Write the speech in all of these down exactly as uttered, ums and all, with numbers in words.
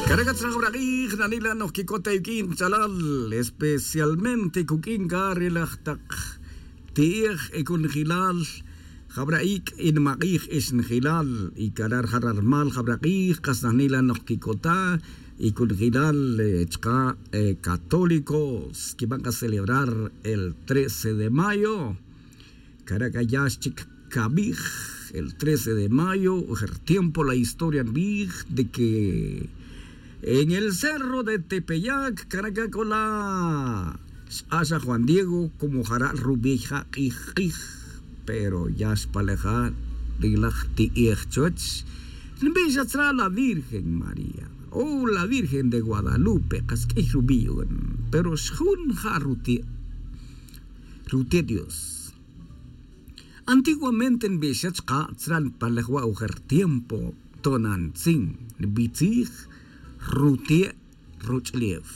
Caraca tzra jabra k'ij nanila' noj quicota yuq'uin kach'alal, especialmente cuq'uin ca re laj tak ti'ej e conjelal jabra ic' e nimak'ij e xnjelal. Y cara' rija' ra rmal jabra k'ij kas nanila' noj quicota y conjelal chka' católicos quiban ka celebrar el trece de mayo. Cara' ca ya xchic cabij el trece de mayo, ujer tiempo la historia nbij de que en el cerro de tepeyac cara' ca c'o la xk'ax aj juan diego como jara' rubey ja' k'ij k'ij. Pero ya xpaleja' ri laj ti'ej chuwech nbix atzra' la virgen maría o la virgen de guadalupe kas k'ij rubey. Pero xjun ja' rute' rute' dios. Antiguamente nbix xa chka' tzra' npalej wa' ujer tiempo tonantzin nbitzij rute' roch'ulef.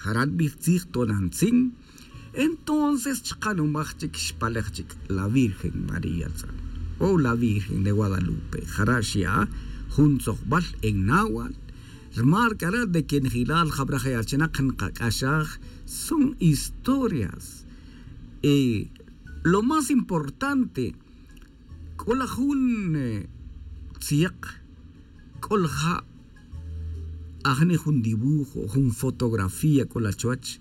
Jara' nbij tzij tonantzin. Entonces chka' numaj chic xpalej chic la virgen maría tzra' o la virgen de guadalupe jara' xya' jun tzojbal en nawal. Rmal cara' de que njelal jabra je' achinak nkac'axaj son historias. Lo más importante c'o la jun tziek c'o la ja' ajni jun dibujo jun fotografía c'o la chuwech.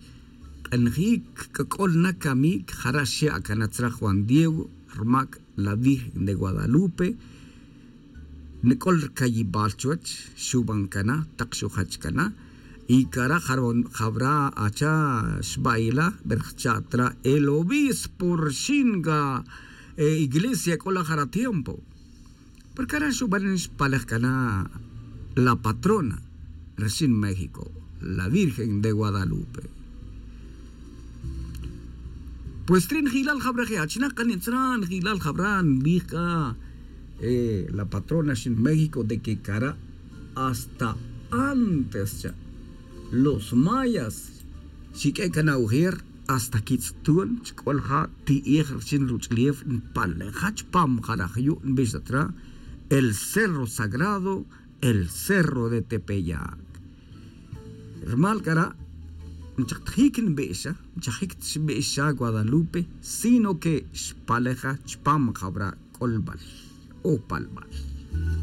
K'anjic c'o la na camic jara' xya' cana tzra' juan diego rmac la virgen de guadalupe. Nic'ol rcayibal chuwech xuban cana tak xujach cana. Y cara' jabra acha xba'ila berjcha' tra el obispo rxin ca iglesia c'o la jara tiempo. Porque cara' xuban xpalej cana la patrona rxin méxico la virgen de guadalupe. Pues ri' njilal jabra je' achinak kan nitzra' njilal jabra nbij c'a la patrona xin méxico de que cara' hasta antes cha los mayas xiq'ue' can aujer hasta quitz'tun chic'ol ja' ti'ej rixin ruch'ulef npaleja' chupam jaraj yu' nbix ta tra' el cerro sagrado el cerro de tepeyac. Rumal cara' nchaktajic nbix xa nchajic ta xbix xa guadalupe sino que xpaleja' chupam jabra' c'olbal o palbal.